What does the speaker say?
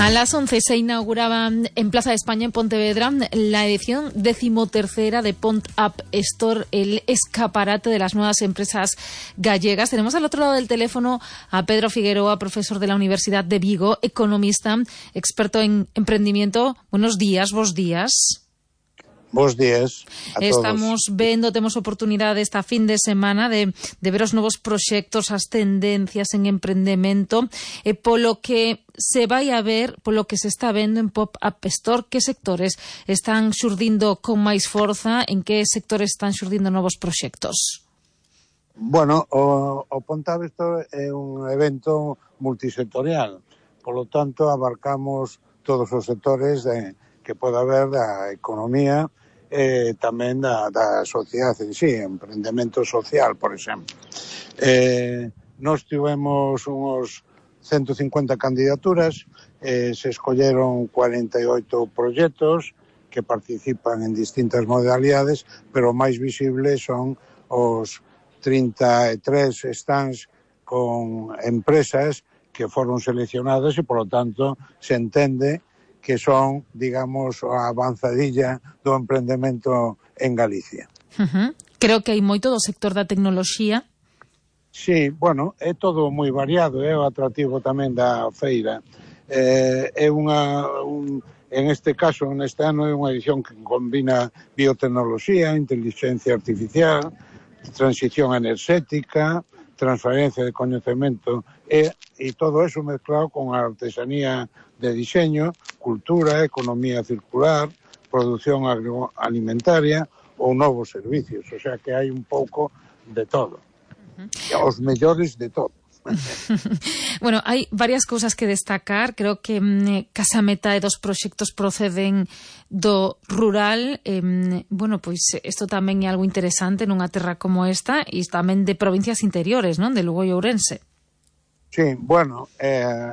A las 11 se inauguraba en Plaza de España, en Pontevedra, la edición 13ª de Pont Up Store, el escaparate de las nuevas empresas gallegas. Tenemos al otro lado del teléfono a Pedro Figueroa, profesor de la Universidad de Vigo, economista, experto en emprendimiento. Buenos días, vos días. Bos días a todos. Estamos vendo, temos oportunidade esta fin de semana de ver os novos proxectos, as tendencias en emprendemento, e polo que se vai a ver, polo que se está vendo en Pop-Up Store, que sectores están xurdindo con máis forza, en que sectores están xurdindo novos proxectos? Bueno, o Pop-Up Store é un evento multisectorial, polo tanto abarcamos todos os sectores que pode haber da economía e tamén da sociedade en sí, emprendemento social, por exemplo. Nós tivemos uns 150 candidaturas, se escolleron 48 proxectos que participan en distintas modalidades, pero o máis visible son os 33 stands con empresas que foron seleccionadas e, polo tanto, se entende que son, digamos, a avanzadilla do emprendemento en Galicia. Creo que hai moito do sector da tecnoloxía. Sí, bueno, é todo moi variado, é o atractivo tamén da feira. En este caso, neste ano, é unha edición que combina biotecnoloxía, inteligencia artificial, transición enerxética, transferencia de coñecemento e todo eso mezclado con a artesanía de diseño, cultura, economía circular, producción agroalimentaria ou novos servicios. O sea que hai un pouco de todo. Os mellores de todo. Bueno, hai varias cousas que destacar. Creo que case a metade dos proxectos proceden do rural. Bueno, pois isto tamén é algo interesante nunha terra como esta, e tamén de provincias interiores, non? De Lugo e Ourense. Sí, bueno,